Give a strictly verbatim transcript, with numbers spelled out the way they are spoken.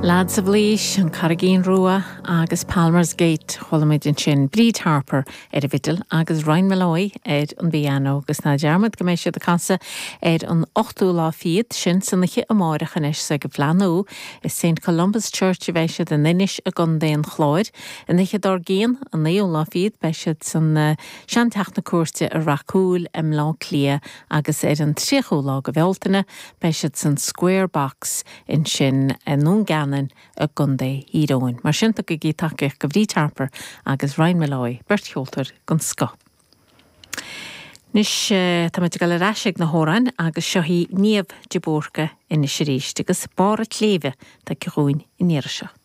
Lads of Laois, an Carraigín Rua agus Palmer's Gate chuala muid ansin Bríd Harper ar an bhfidil agus Ryan Molloy ar an bpianó agus ná dearmad go mbeidh siad ag casadh ar an ochtú lá fichead sin san oíche amárach anois sa go bhleanú i St Columba's Church a bheidh siad in Inis i gContae an Chláir. An oíche dár gcionn an naoú lá fichead beidh siad san uh, Seanteach na Cúirte i Rath Cúil i mBleá Cliath agus ar an tríochú lá de Bhealtaine beidh siad san Square Box ansin i nDún Geanainn i gContae Thír Eoghain. Mar sin tugaigí tacaíocht do Bhríd Harper agus Ryan Molloy beirt cheoltóir den scoth. Anois tá muid ag dul ar ais ag na hamhráin agus seo í Niamh de Búrca anois arís agus Barr an tSléibhe tá chugainn an iarraidh seo.